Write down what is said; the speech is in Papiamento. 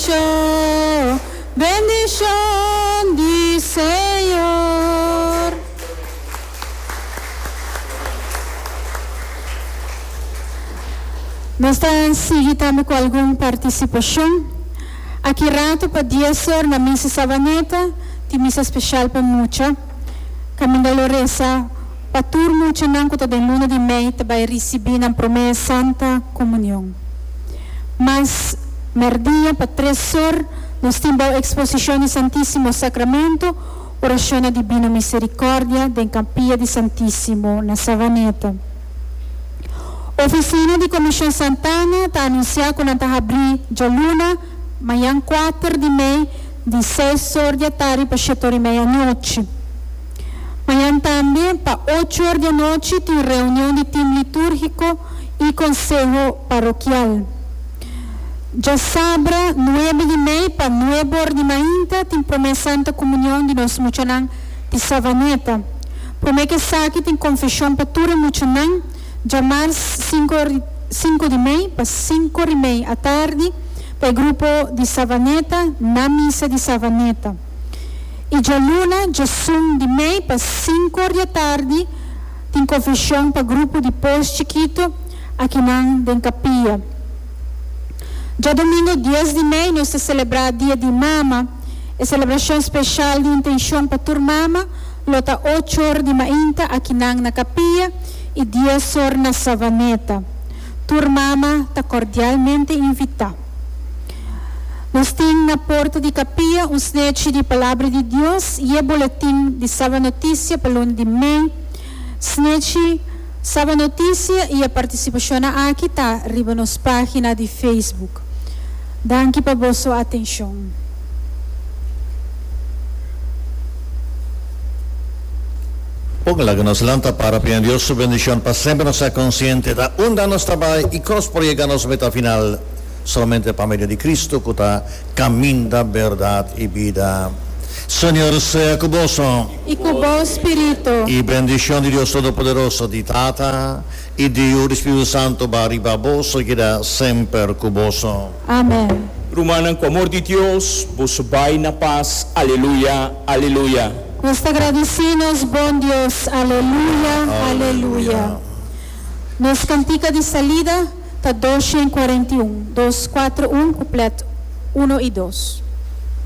Bendishon, bendishon di Señor. Nos ta sigui tambe ku algun partisipashon. Aki rato pa dies or na Misa Savaneta tin misa speshal pa mucha. Kaminda lo resa pa tur muchanan ku ta den luna di mei ta bai risibí nan promé Santa Komunion. Mas mèrdia pa tres or nos tin bou eksposishon di Santísimo Sakramento orashon na Dibino Miserikòrdia den Kapia di Santísimo na Savaneta. Ofisina di Komishon Santana ta anunsiá ku nan ta habrí djaluna, mañan kuater di mei, di seis or di atardi pa shete or i mei anochi. Mañan tambe pa ocho or di anochi tin reunion di tim litúrgiko i konseho parokial. Djasabra nuebe di mei pa nuebe or di mainta tin promé Santa Komunion di nos muchanan di Savaneta. Promé ku esaki tin konfeshon pa tur e muchanan djamars sinku di mei pa sinku or i mei atardi pa e grupo di Savaneta na misa di Savaneta. I djaluna djasun di mei pa sinku or di atardi tin konfeshon pa grupo di Pos Chikito akinan den kapia. Djadomingo dies di mei nos ta selebrá Dia di Mama. E selebrashon speshal di intenshon pa tur mama lo ta ocho or di mainta akinan na kapia i dies or na Savaneta. Tur mama ta kordialmente invitá. Nos tin na porta di kapia un snechi di Palabra di Dios i e boletin di Saba Notisia pa luna di mei. Snechi Saba Notisia i e partisipashonnan aki ta riba nos página di Facebook. Danki pa boso atenshon. Pon laga nos lanta para pidi Dios su bendicion pa semper nos ta consciente ta unda nos ta bay y con nos por yega nos meta final solamente pa medio di Cristo cu ta caminda, berdad y bida. Señor sea cu boso. Y cu bo spirito. Y bendicion di Dios Todopoderoso, di Tata, y di Yu, di Spiritu Santo ba riba boso y keda semper cu boso. Amen. Rumannan, ku amor di Dios, boso bai na pas. Aleluya, aleluya. Nos ta gradisí nos bon Dios. Aleluya, aleluya. Nos kantika di salida ta 241, dos kuatro un, kuplet uno i dos.